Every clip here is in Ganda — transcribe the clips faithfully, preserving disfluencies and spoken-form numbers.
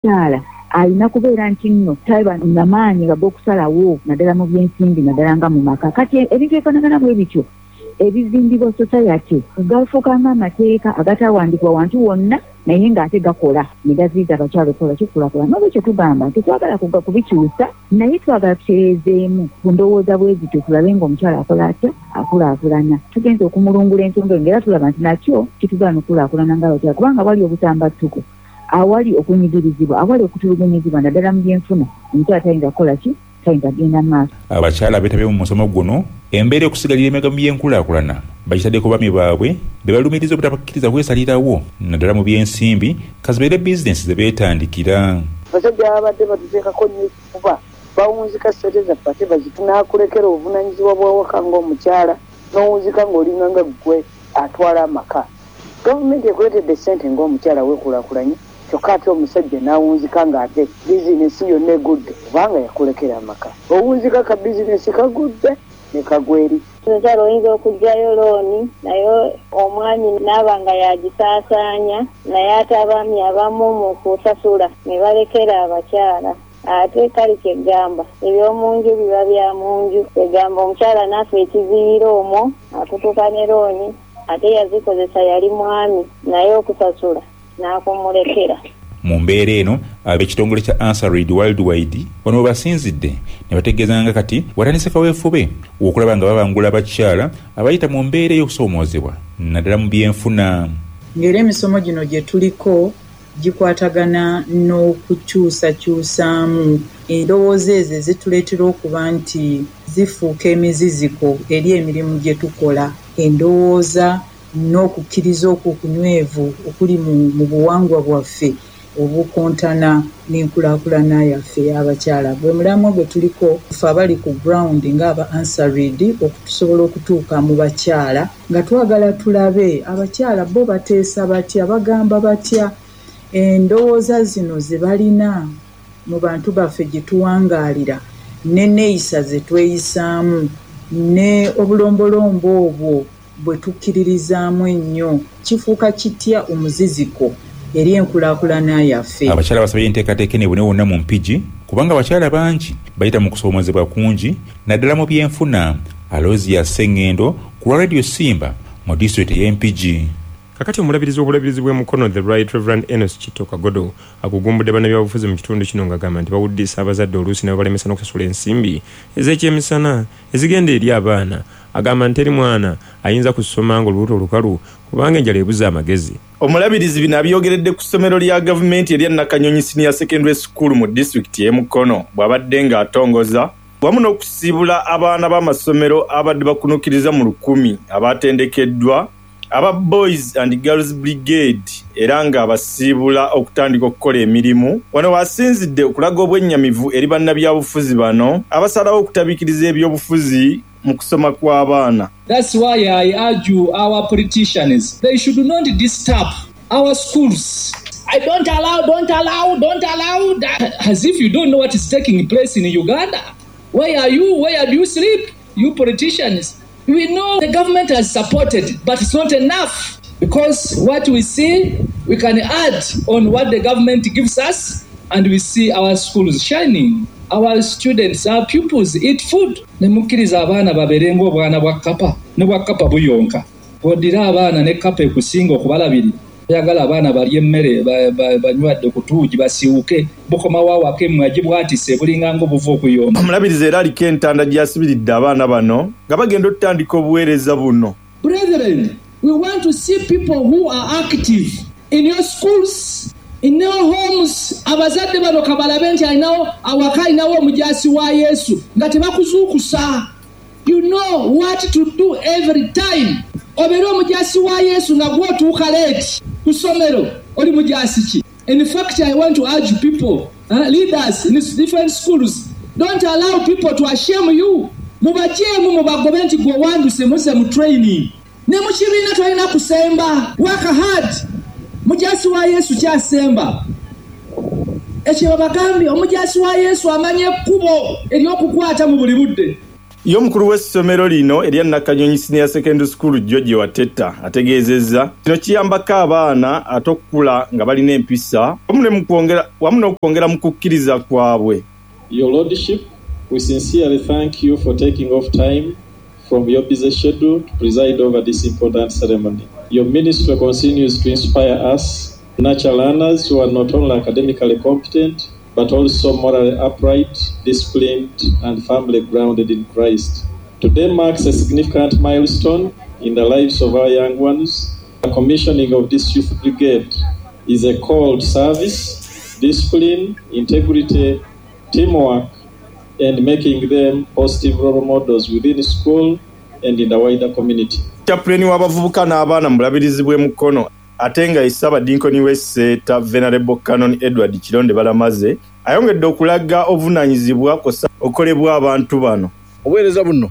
Omukyala alina kubeera nti nno taba namaanyi ag'okusalawo, naddala mu byensimbi, naddala nga mu maka. Kati ebintu ebifaanagana bwe bityo ebizimbibwa society gafuuka ng'amateeka agatawandiikibwa wantu wonna, naye ng'ate gakola ne gaziyiza abakyala okukola kikulaakulana. N'olwekyo tugamba nti twagala kuga kubikyusa, naye twagala tutereezeemu ku ndowooza bwe zityo, tulabe ng'omukyala akola atya, akulaakulana. Tugenza okumulungula ensonga eyo, ng'era tulaba nti nakyo kitugaana okulaakulana ng'abakyala, kubanga wali obusambattuko, awali okunyigirizibwa, awali okutulugunyizibwa, naddala mu byenfuna, omukyala tayinza kukola ki, tayinza kugenda mu maaso. Abakyala beetabye mu musomo guno embeera okusigalira emabega mu byenkulaakulana bagitaddeko baami baabwe be balumiriza obutabakkiriza kwesalirawo, naddala mu byensimbi, kazibeere bizinensi ze beetandikira. Abasajja babadde batuteekako nnyo ekifuba, bawunzika ssente zaffe ate bazitunaakulekera obuvunaanyizibwa bw'awaka ng'omukyala, n'owunzika ng'olinga nga ggwe atwala amaka. Gavumenti ekuleetedde ssente ng'omukyala weekulaakulanye, kyokka ate omusajja n'awunzika ng'ate bizinesi yonna egudde kubanga yakulekera amaka. Owunzika ka bizinesi kagudde ne kagwa eri. Omukyala oyinza okuggyayo looni, naye omwami n'aba nga yagisaasaanya, naye ate abaami abamu mu kusasula ne balekera abakyala. Ate kale kyegamba eby'omu nju biba bya mu nju, kyegamba omukyala naafa ekiziyiro omwo akutuka ne looni, ate yazikozesa yali mwami, naye okusasula n'akumulekera. Mu mbeera eno, ab'ekitongole kya Answer Worldwide wano we basinzidde ne bategeeza nga kati watandise kaweefube okulaba nga babangula abakyala abayita mu mbeera ey'okusoomoozebwa, naddala mu byenfuna. Ng'era emisomo gino gye tuliko gikwatagana n'okukyusakyusaamu endowooza ezo ezituleetera okuba nti zifuuka emiziziko eri emirimu gye tukola, endowooza n'okukkiriza okwo okunywevu okuli mu buwangwa bwaffe obukontana n'enkulaakulana yaffe ey'abakyala. Gwe mulamwa gwe tuliko ffe abali ku ground ng'aba Answer okutusobola okutuuka mu bakyala, nga twagala tulabe abakyala bo bateesa batya, bagamba batya, endowooza zino ze balina mu bantu baffe gye tuwangaalira, n'enneeyisa ze tweyisaamu, ne obulombolombo obwo bwe tukkiririzaamu ennyo, kifuuka kitya omuziziko eri enkulaakulana yaffe. Abakyala basabye enteekateeka eno ebune wonna mu Mpigi, kubanga abakyala bangi bayita mu kusoomoozebwa kungi, naddala mu byenfuna. Aloysia Ssengendo ku lwa Radio Simba mu disitulikiti ey'Empigi. Kakati omulabirizi w'obulabirizi bw'e Mukono, The Right Reverend Enos Kitto Kagodo, agugumbudde bannabyabufuzi mu kitundu kino ng'agamba nti bawuddisa abazadde, oluusi ne babalemesa n'okusasula ensimbi ez'ekyemisana ezigenda eri abaana. Agamba nti teri mwana ayinza kusoma ng'olubuto olukalu, kubanga enjala ebuza amagezi. Omulabirizi bino abyogeredde ku ssomero lya gavumenti erya Nakanyonyi Senior Secondary School mu disitulikiti y'e Mukono, bw'abadde ng'atongoza wamu n'okusiibula abaana b'amasomero abadde bakunukkiriza mu lukumi abatendekeddwa aba Boys and Girls Brigade, era ng'abasiibula okutandika okukola emirimu. Wano wasinzidde okulaga obwennyamivu eri bannabyabufuzi bano abasalawo okutabiikiriza ebyobufuzi mu kusoma kw'abaana. That's why I urge our politicians, they should not disturb our schools. I don't allow, don't allow, don't allow that. As if you don't know what is taking place in Uganda. Where are you? Where do you sleep? You politicians. We know the government has supported, but it's not enough. Because what we see, we can add on what the government gives us, and we see our schools shining. Our students, our pupils eat food. Ne mukkiriza abaana babeere ng'obwana bwa kkapa, ne bwa kkapa buyonka. Bw'oddira abaana ne kkapa ekusinga okubalabirira, oyagala abaana balye emmere, banywadde ku tuugi, basiiwuke, bukomawo awaka emmwe agibwatise, bulinga ng'obuva okuyomba. Omulabirizi era aliko entanda gy'asibiridde abaana bano nga bagenda okutandika obuweereza buno. Brethren, we want to see people who are active in your schools, in your homes. Abazadde bano kabalabe nti alinawo awaka, alinawo omujaasi wa Yesu nga tebakuzuukusa. You know what to do every time. Obeere omujaasi wa Yesu nga gw'otuuka late ku ssomero, oli mujaasi ki? In fact, I want to urge people, uh, leaders in different schools, don't allow people to ashame you. Mubajeemu, mubagobe nti gwe wanduse muzze mu training. Ne mu kibiina tolina kusemba. Work hard. Mujaasi wa Yesu kyasemba. Ekyo babagambye, omujaasi wa Yesu amanya ekkubo ery'okukwata mu buli budde. Ye omukulu w'essomero lino erya Nakanyonyi Senior Secondary School George Wateta ategeezezza kino kiyambako abaana ate okukula nga balina empisa wamu n'okwongera mu kukkiriza kwabwe. Your Lordship, we sincerely thank you for taking off time from your busy schedule to preside over this important ceremony. Your ministry continues to inspire us, nurture learners who are not only academically competent, but also morally upright, disciplined, and firmly grounded in Christ. Today marks a significant milestone in the lives of our young ones. The commissioning of this youth brigade is a call to service, discipline, integrity, teamwork, and making them positive role models within school and in the wider community. Chaplain w'abavubuka n'abaana mu bulabirizi bw'e Mukono ate nga ye Ssaabadinkoni w'e Seeta Venerable Canon Edward Kironde Balamaze ayongedde okulaga obuvunaanyizibwa kw'ossa okolebwa abantu bano. Obuweereza buno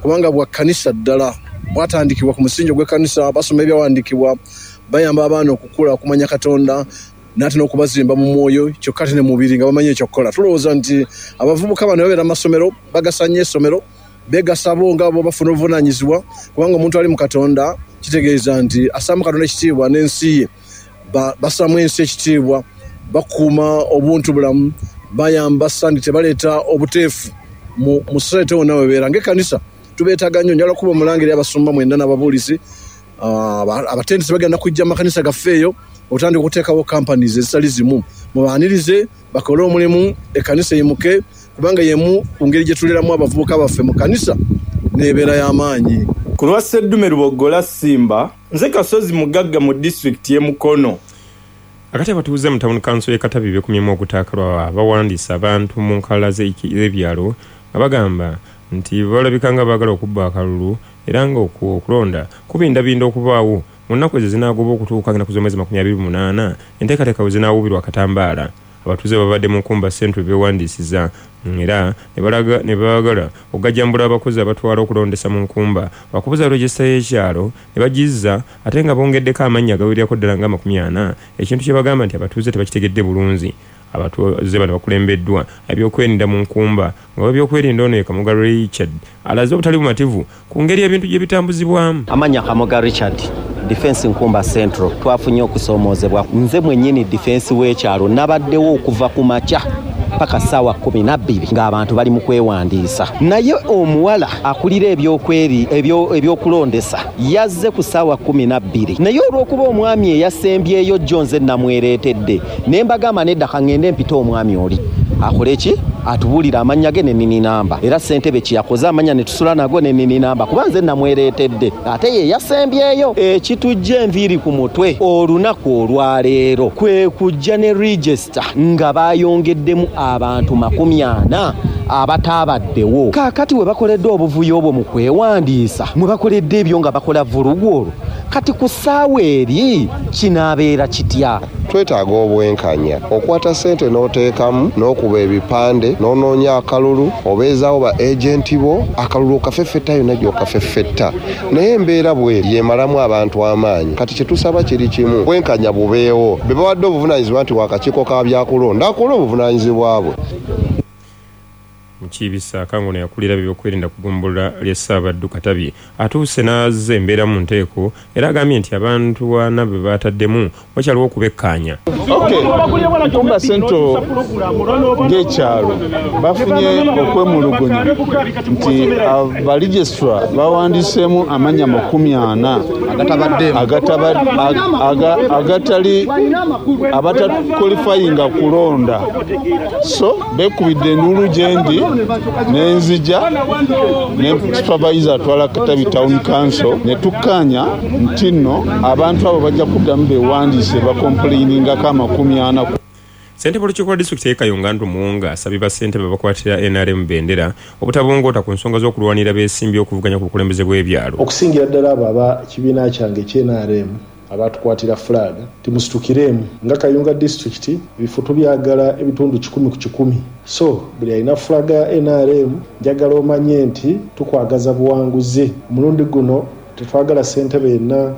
kubanga bwa kkanisa ddala bwatandikibwa ku musingi gw'ekkanisa, basoma ebyawandiikibwa, bayamba abaana okukula okumanya Katonda n'ate n'okubazimba mu mwoyo kyokka ate ne mu mubiri nga bamanyi ekyokukola. Tulowooza nti abavubuka bano babeera mu masomero, bagasa nnyo essomero, beegasa bo nga bo bafuna obuvunaanyizibwa, kubanga omuntu ali mu Katonda kitegeeza nti assaamu Katonda ekitiibwa n'ensi ye, bassaamu ensi ekitiibwa, bakuuma obuntu bulamu, bayamba sandi tebaleeta obuteefu mu society wonna webeera. Ng'ekkanisa tubeetaaga nnyo. Njagala okuba omulangiri abasumba mwenna n'ababuulizi, abatendesi bagenda kujja mu makanisa gaffe eyo otandika okuteekawo companies ezitali zimu, mubaanirize bakole omulimu, ekkanisa eyimuke, kubanga yemu ku ngeri gye tuleramu abavubuka baffe mu kkanisa n'ebeera y'amaanyi. Ku lwa Sseddume Luboggola Simba, nze Kasozi Mugagga mu disitulikiti y'e Mukono. Akati abatuuze mu town council y'e Katabi beekumyemu ogutakalwa bawandiisa abantu mu nkalala z'ebyalo nga bagamba nti balabika nga baagala okubba akalulu era nga okulonda kubindabinda okubaawo mu nnaku ezo zinaagoba okutuuka ennaku z'omwezi makumi abiri munaana enteekateeka bwe zinaawubirwa akatambaala. Abatuuze babadde mu Nkumba Central beewandiisiza era ne baagala okugajambula abakozi abatwala okulondesa mu Nkumba bakubuza regisita y'ekyalo ne bagizza ate nga bongeddeko amannya agawererako ddala nga makumi ana, ekintu kye bagamba nti abatuuze tebakitegedde bulungi. Abatuuze bano bakulembeddwa ebyokwerinda mu Nkumba nga ebyokwerinda ono ye Kamoga Richard alaze obutali bumativu ku ngeri ebintu gye bitambuzibwamu. Amannya Kamoga Richard, Defense Nkumba Central, twafunye okusoomoozebwa. Nze mwennyini defense w'ekyalo nabaddewo okuva ku makya paka ssaawa kkumi na bbiri ng'abantu bali mu kwewandiisa, naye omuwala akulira ebyokweri ebyokulondesa yazze ku ssaawa kkumi na bbiri, naye olw'okuba omwami eyasembyeyo jjo nze namwereetedde ne mbagamba nedda ka ŋŋende mpite omwami oli akole ki, atubuulire amannya ge ne namba. Era ssentebe kye yakoze amannya ne tusula nago ne namba kuba nze namwereetedde ate ye yasembyeyo. Ekitujja enviiri ku mutwe olunaku olwaleero kwe kujja ne register nga bayongeddemu abantu makumi ana abataabaddewo. Kaakati we bakoledde obuvuyo obwo mu kwewandiisa, mwe bakoledde ebyo nga bakola vulugu olwo, kati ku ssaawa eri kinaabeera kitya? Twetaaga obwenkanya. Okwata ssente n'oteekamu n'okuba ebipande n'onoonya akalulu, obeezaawo ba agenti bo, akalulu okafeffetta yonna gy'okafeffetta, naye embeera bweri yemalamu abantu amaanyi. Kati kye tusaba kiri kimu, bwenkanya bubeewo. Be bawadde obuvunaanyizibwa nti wakakiiko ka byakulonda akole obuvunaanyizibwa bwe. Mukiibisa Akangono yakulira ebyokwerinda ku ggombolola ly'e Ssaabaddu Katabi atuuse n'azza embeera mu nteeko era agambye nti abantu ana be baataddemu wakyaliwo okubekkaanya. Nkumba Central ng'ekyalo bafunye okwemulugunya nti abaregistra bawandiiseemu amannya makumi ana agatali abatakwalifayinga kulonda, so beekubidde enduulu gye ndi nenzija ne supervisor atwala Katabi Town Council ne tukkaanya nti nno abantu abo bajja kuddamu beewandiise bakomplainingako amakumi ana. Ssentebe w'olukiiko lwa disitulikiti y'e Kayunga Andrew Muwonga asabye bassentebe abakwatira N R M bendera obutabongoota ku nsonga z'okulwanira beesimbye okuvuganya ku bukulembeze bw'ebyalo. Okusingira ddala abo aba kibiina kyange eky N R M abatukwatira flag timusitukiremu nga Kayunga disitulikiti ebifo tubyagala ebitundu kikumi ku kikumi, so buli alina flag ya N R M njagala omanye nti tukwagaza buwanguzi. Omulundi guno tetwagala ssentebe yenna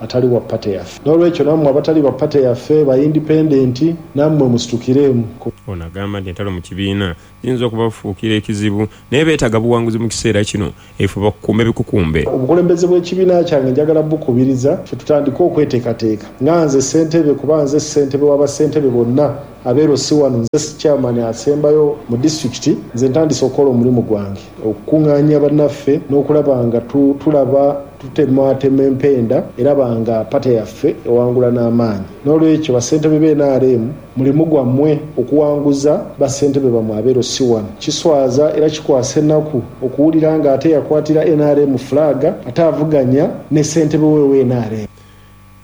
atali wa pate yaffe. N'olwekyo nammwe abatali ba pate yaffe ba independent, nammwe musitukiremu. Ono agamba nti entalo mu kibiina ziyinza okubafuukira ekizibu, naye beetaaga buwanguzi mu kiseera kino ebifo bakukume bikukumbe. Obukulembeze bw'ekibiina kyange njagala bukubiriza ffe tutandike okweteekateeka nga nze ssentebe, kuba nze ssentebe w'abassentebe bonna abeero si wano, nze chairman asembayo mu disitulikiti. Nze ntandise okukola omulimu gwange okukuŋŋaanya bannaffe n'okulaba nga tulaba tutematema empenda eraba nga pate yaffe ewangula n'amaanyi. N'olwekyo bassentebe b'N R M, mulimu gwammwe okuwanguza bassentebe bammwe abeero si wano. Kiswaza era kikwasa ennaku okuwulira nga ate yakwatira N R M flag ate avuganya ne ssentebe we we N R M.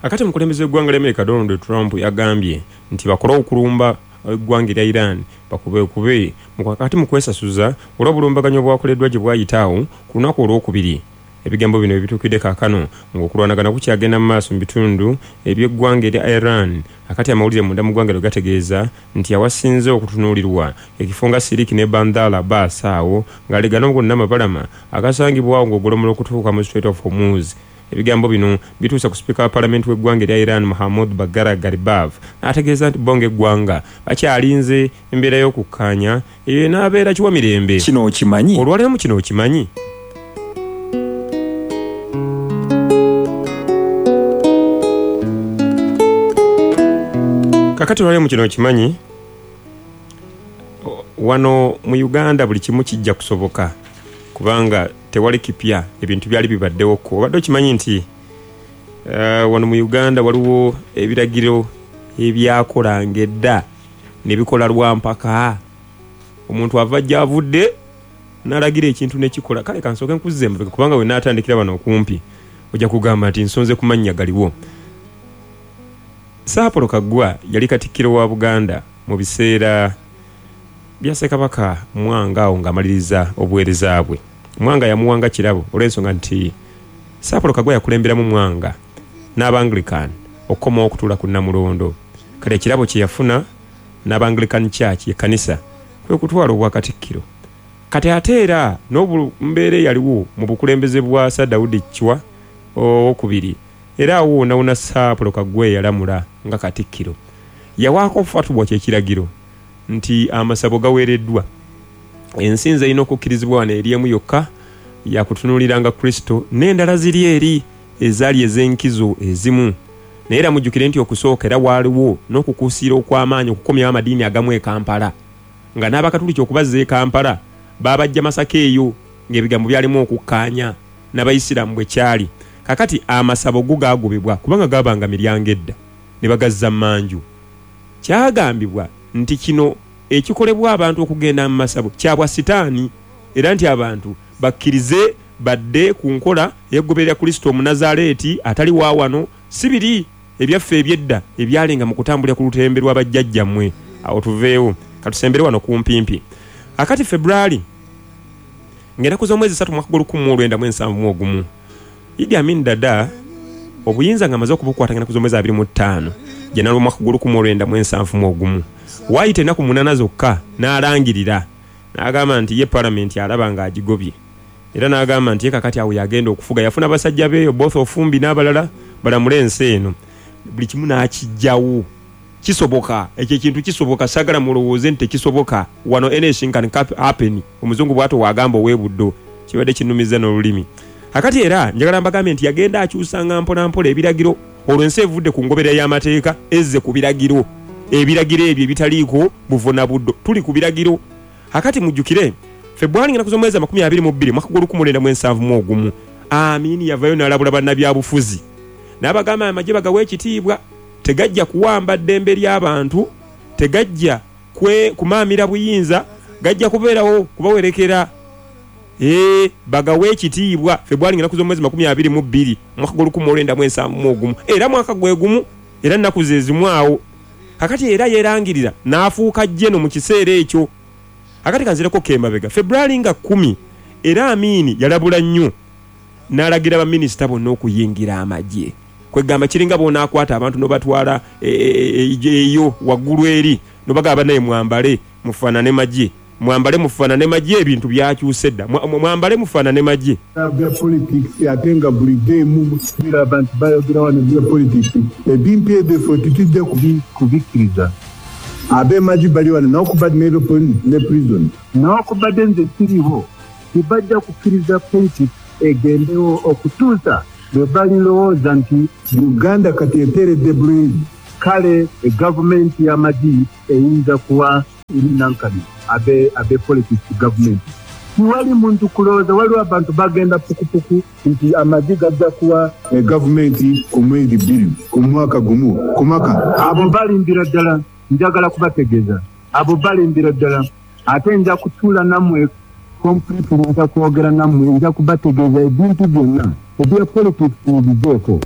Akati omukulembeze w'eggwanga lya America Donald Trump yagambye nti bakole okulumba eggwanga erya Iran bakubekube kati mu kwesasuza olw'obulumbaganyi obwakoleddwa gye bwayitaawo ku lunaku olwokubiri. Ebigambo bino ebituukidde kaakano ng'okulwanagana kukyagenda mu maaso mu bitundu eby'eggwanga erya Iran. Akati amawulire munda mu ggwanga eryo gategeeza nti awasinze okutunuulirwa ekifo nga Siriki ne Bandar Abbas awo ng'alegana gonna amabalama agasangibwawo ng'ogolomola okutuuka mu Strait of Hormuz. Ebigambo bino bituuse ku sipiika wa palamenti w'eggwanga erya Iran Mohammad Bagher Ghalibaf n'ategeeza nti bo ng'eggwanga bakyalinze embeera y'okukkaanya eyo enaabeera kiwa mirembe. Kino okimanyi? Olwaleero mu kino okimanyi. Kakati olwaleero mu kino okimanyi, wano mu Uganda buli kimu kijja kusoboka kubanga tewali kipya, ebintu byali bibaddewo ko. Obadde okimanyi nti uh, wano mu Uganda waliwo ebiragiro ebyakolanga edda ne bikola lwampaka. Omuntu ava gy'avudde n'alagira ekintu ne kikola. Kale kansooke nkuzze emabega kubanga we naatandikira wano okumpi ojja kugamba nti nsonze ku mannya galiwo. Sir Apollo Kaggwa yali katikkiro wa Buganda mu biseera bya Ssekabaka Mwanga awo ng'amaliriza obuweereza bwe. Mwanga yamuwanga kirabo olw'ensonga nti Sir Apollo Kaggwa yakulemberamu Mwanga n'Abanglican okukomawo okutuula ku Nnamulondo. Kale ekirabo kye yafuna n'Abanglican Church ekkanisa kwe kutwala obwakatikkiro. Kati ate era n'obumbeera eyaliwo mu bukulembeze bwa Sir Daudi Chwa owokubiri, era awo wonna wonna Sir Apollo Kaggwa yalamula nga katikkiro. Yawaako fatwa ky'ekiragiro nti amasabo gaweereddwa, ensinza erina okukkirizibwa wano eri emu yokka yakutunuuliranga Kristo, n'endala ziri eri ezaali ez'enkizo ezimu. Naye era mujjukire nti okusooka era waaliwo n'okukuusiira okw'amaanyi okukomyawo amadiini agamu e Kampala, nga n'Abakatuliki okubazza e Kampala baabajja Masaka eyo ng'ebigambo byalimu okukkaanya n'Abayisiraamu bwe kyali. Kakati amasabo go gaagobebwa kubanga gaabanga miryango edda ne bagazza mmanju. Kyagambibwa nti kino ekikolebwa abantu okugenda mu masabo kyabwa sitaani, era nti abantu bakkirize badde ku nkola ey'okugoberera Kristo Omunazaaleeti atali wa wano, si biri ebyaffe eby'edda ebyalinga mu kutambulira ku lutembe lw'abajjajjammwe. Awo tuveewo katusembere wano kumpimpi. Akati February ng'ennaku z'omwezi ssatu mwaka gw'olukumi mu lwenda mu ensanvu mu ogumu, Idi Amin Dada obuyinza ng'amaze okubukwata ng'ennaku z'omwezi abiri mu ttaano Janwali omwaka gw'olukumi mu lwenda mu ensanvu mu ogumu, waayita ennaku munaana zokka n'alangirira n'agamba nti ye palamenti alaba ng'agigobye, era n'agamba nti ye kakati awo yagenda okufuga. Yafuna basajja be Oboth Ofumbi n'abalala balamule ensi eno, buli kimu n'akiggyawo. Kisoboka, ekyo ekintu kisoboka, saagala mulowooze nti tekisoboka. Wano anything can happen, omuzungu bw'atyo w'agamba ow'ebuddo, kibadde kinnumiza n'olulimi. Akati era njagala mbagambe nti yagenda akyusanga mpola mpola ebiragiro, olwo ensi evudde ku ngoberera y'amateeka ezze ku biragiro. Ebiragiro ebyo ebitaliiko buvo na buddo, tuli ku biragiro. Akati mujjukire February ng'ennaku z'omwezi amakumi abiri mu bbiri mwaka gw'olukumi mu lwenda mu ensanvu mu ogumu, Amini yavayo n'alabula bannabyabufuzi n'abagamba amagye bagawe ekitiibwa, tegajja kuwamba ddembe ly'abantu, tegajja kwe kumaamira buyinza, gajja kubeerawo kubawerekera. Ee, bagawe ekitiibwa. February ng'ennaku z'omwezi makumi abiri mu bbiri mwaka gw'olukumi mu lwenda mu ensanvu mu ogumu, era mwaka gwe gumu, era nnaku ze zimu awo. Kakati era yeerangirira n'afuuka jeno mu kiseera ekyo. Akati kanzireko kemabega February nga kkumi, era Amini yalabula nnyo n'alagira baminisita bonna okuyingira amagye. Kwegamba kiringa bw'onaakwata abantu n'obatwala eyo waggulu eri n'obagamba naye mwambale mufaanane magye, Mwambale mufaanane magye, ebintu byakyuse dda. Mwambale mufaanane magye. Bya politics ate nga buli game bira abantu bayogera wano bya politics. Ebimpi ebifo tetujja kubikkiriza. Ab'emagye bali wano n'okubadde ne prison. N'okubadde nze siriwo, tebajja kukkiriza politics egendewo okutuusa bwe balirowooza nti Uganda kati eteredde bulungi. Kale egavumenti y'amagye eyinza kuwa nankani abe abe politics gavumenti. Tiwali muntu kulowooza, waliwo abantu bagenda pukupuku nti amagye gajja kuwa egavumenti ku mwezi bbiri, ku mwaka gumu, ku mwaka. Abo balimbira ddala, njagala kubategeeza. Abo balimbira ddala, ate nja kutuula nammwe completely, nja kwogera nammwe, nja kubategeeza ebintu byonna ebya politics mubiveeko.